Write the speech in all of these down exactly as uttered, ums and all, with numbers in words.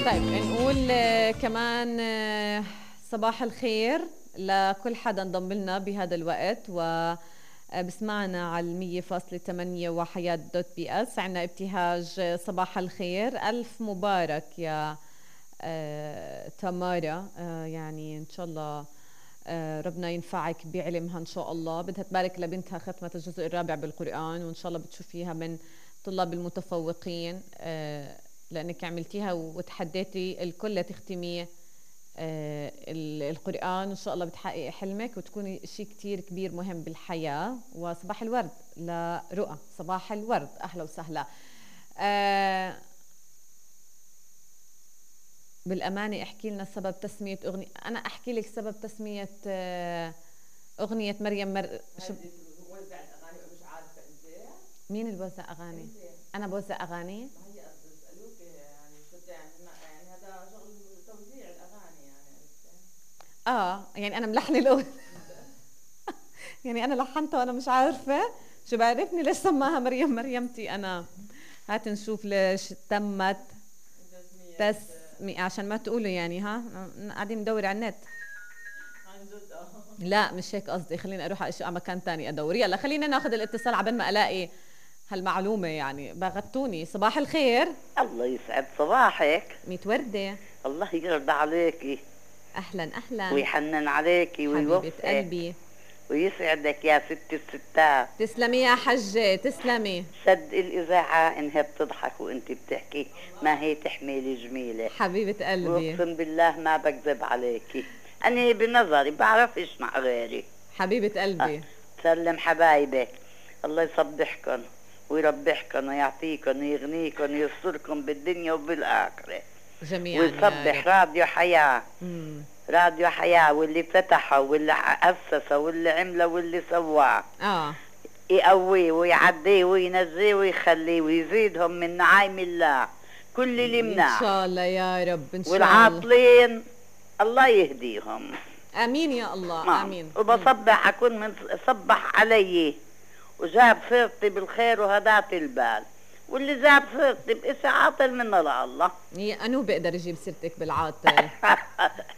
طيب نقول آه، كمان آه، صباح الخير لكل حدا انضم لنا بهذا الوقت و بسمعنا على المية فاصلة ثمانية وحياة دوت بي اس. عنا ابتهاج صباح الخير، ألف مبارك يا آه، تمارا. آه، يعني إن شاء الله آه، ربنا ينفعك بعلمها إن شاء الله. بدها تبارك لبنتها ختمة الجزء الرابع بالقرآن، وإن شاء الله بتشوفيها من طلاب المتفوقين آه، لأنك عملتيها وتحديتي الكل لتختمي آه القرآن. إن شاء الله بتحققي حلمك وتكوني شيء كتير كبير مهم بالحياة. وصباح الورد لرؤى، صباح الورد، أهلا وسهلا. آه بالأمانة احكي لنا سبب تسمية أغنية. أنا أحكي لك سبب تسمية آه أغنية مريم مر... شو بوزع الأغاني مش عارفة أنت؟ مين اللي بوزع أغاني؟ انت. أنا بوزع أغاني؟ اه يعني انا ملحنه الاغنيه يعني انا لحنتها وانا مش عارفه شو بعرفني ليش سماها مريم مريمتي. انا هات نشوف ليش تمت تسمية عشان ما تقولوا يعني ها قاعدين ندور على النت. لا مش هيك قصدي، خليني اروح على مكان تاني ادور. يلا خلينا ناخذ الاتصال عبين ما الاقي هالمعلومه. يعني بغتوني. صباح الخير. الله يسعد صباحك. ميت وردة. الله يرضى عليكي. اهلا اهلا. ويحنن عليكي ويوفقك حبيبة قلبي ويسعدك يا ست الستات. تسلمي يا حجة تسلمي. صدق الإذاعة إنها بتضحك وإنت بتحكي، ما هي تحميلي جميلة حبيبة قلبي. وأقسم بالله ما بكذب عليكي، أنا بنظري بعرفش مع غيري. حبيبة قلبي. أه. سلم حبايبك، الله يصبحكم ويربحكم ويعطيكم ويغنيكم ويستركم بالدنيا وبالآخرة جميعا. ويصبح راديو حياة. مم. راديو حياة واللي فتحه واللي أسسه واللي عمله واللي سواه اه يقويه ويعديه وينزيه ويخليه ويزيدهم من نعيم الله كل اللي مناح ان شاء الله يا رب. ان شاء الله. والعاطلين الله يهديهم. امين يا الله. امين. وبصبح اكون من صبح علي وجاب سيرتي بالخير وهدات البال، واللي جاب سيرتي بإشي عاطل من الله. أنو بقدر يجيب سيرتك بالعاطل؟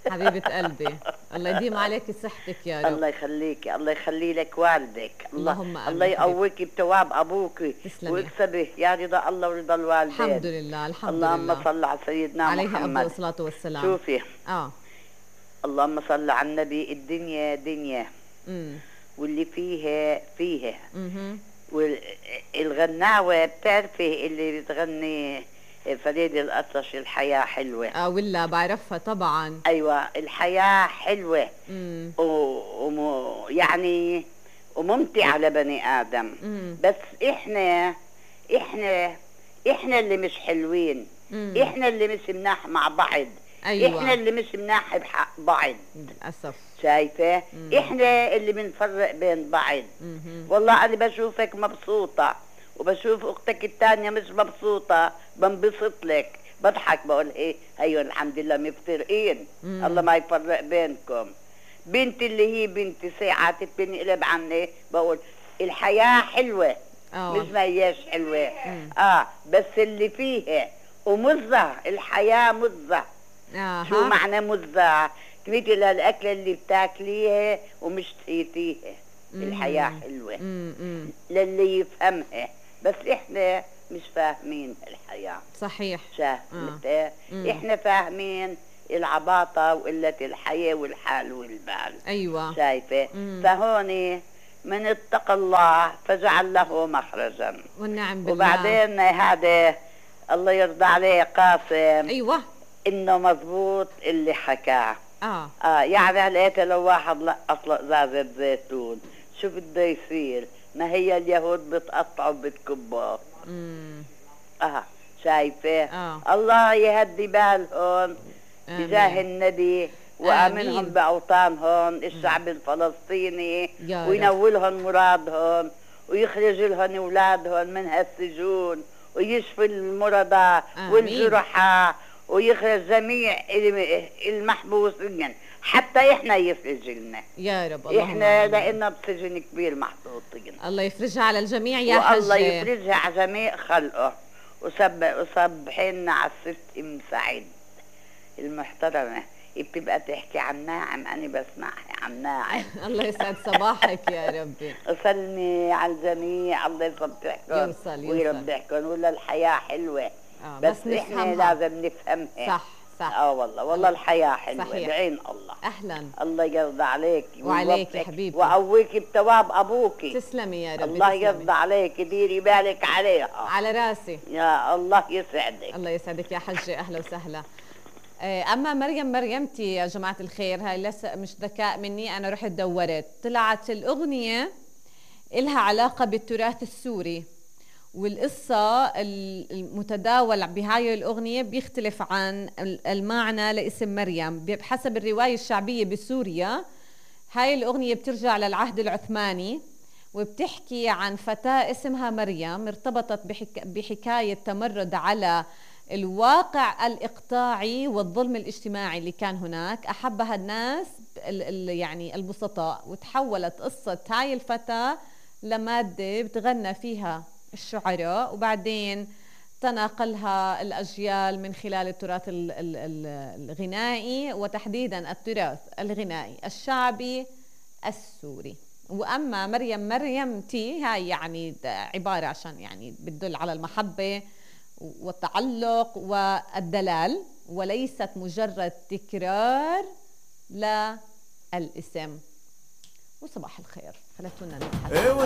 حبيبة قلبي الله يديم عليك صحتك يا رب. الله يخليكي، الله يخلي لك والدك. اللهم الله, الله يقويكي بتواب أبوك ويكسبه يا رضا الله ورضا الوالدين. الحمد لله الحمد اللهم لله. اللهم صل على سيدنا عليه محمد عليه أفضل الصلاة والسلام. شوفي اه اللهم صل على النبي. الدنيا دنيا امم واللي فيها فيها. امم والغناوة بتعرفي اللي بتغني فريد الأطرش الحياة حلوة. اه ولا بعرفها طبعا. أيوة الحياة حلوة امم و... يعني وممتعة لبني آدم. مم. بس إحنا إحنا إحنا اللي مش حلوين. مم. إحنا اللي مش مناح مع بعض. أيوة. إحنا اللي مش مناح بحق بعض. للأسف. شايفة؟ مم. إحنا اللي بنفرق بين بعض. مم. والله أنا بشوفك مبسوطة وبشوف أختك التانية مش مبسوطة بنبسط لك بضحك بقول إيه أيوة الحمد لله مفترقين. مم. الله ما يفرق بينكم. بنتي اللي هي بنتي ساعات بنقلب عني بقول الحياة حلوة. أوه. مش ما هياش حلوة. مم. آه بس اللي فيها ومزة الحياة مزة. آه شو معنى مزة؟ مثل الأكلة اللي بتاكليها ومش تقيتيها. الحياة حلوة. مم. للي يفهمها، بس إحنا مش فاهمين الحياة. صحيح. شاهدت؟ آه. إحنا فاهمين العباطة وقلة الحياة والحال والبال. أيوة. شايفة؟ فهوني من اتقى الله فجعل له مخرجا. والنعم بالله. وبعدين هذا الله يرضى عليه قاسم. أيوة. إنه مضبوط اللي حكاه. آه. آه يعني لقيت لو واحد لقط زازة زيتون شو بده يصير؟ ما هي اليهود بتقطعوا بتكبوا. امم اه شايفه؟ آه. الله يهدي بالهم بجاه النبي وامنهم باوطانهم الشعب الفلسطيني وينولهم مرادهم ويخرج لهم اولادهم من هالسجون ويشفي المرضى والجرحى ويخرج جميع المحبوسين حتى احنا يفرج لنا يا رب. الله احنا لقينا بسجن كبير محطوطين. الله يفرجها على الجميع يا حجة. والله يفرجها على جميع خلقه وصب وصبحنا على الست ام سعيد. المحترمة بتبقى تحكي عن ناعم، أنا بسمعها عن ناعم. الله يسعد صباحك يا ربي. وسلمي على الجميع، الله يصبحكم يوصل ويربحكم. ولا الحياة حلوة آه بس, بس إحنا لازم نفهمها. صح صح. اه والله والله الحياة حلوة صحيح. بعين الله. أهلا. الله يرضى عليك وعليك يا حبيبتي، وقويك بثواب أبوكي. تسلمي يا ربي. الله يرضى عليك، ديري بالك عليها. على راسي. يا الله يسعدك. الله يسعدك يا حجة، أهلا وسهلا. أما مريم مريمتي يا جماعة الخير، هاي لسه مش ذكاء مني، أنا رحت دورت طلعت الأغنية إلها علاقة بالتراث السوري، والقصة المتداول بهاي الأغنية بيختلف عن المعنى لاسم مريم بحسب الرواية الشعبية بسوريا. هاي الأغنية بترجع للعهد العثماني وبتحكي عن فتاة اسمها مريم ارتبطت بحك... بحكاية تمرد على الواقع الإقطاعي والظلم الاجتماعي اللي كان هناك. أحبها الناس ال... ال... يعني البسطاء، وتحولت قصة هاي الفتاة لمادة بتغنى فيها الشعراء، وبعدين تناقلها الأجيال من خلال التراث ال... ال... ال... الغنائي، وتحديدا التراث الغنائي الشعبي السوري. وأما مريم مريمتي هاي يعني عبارة عشان يعني بتدل على المحبة والتعلق والدلال، وليست مجرد تكرار للاسم. وصباح الخير، خلتونا نتحدث.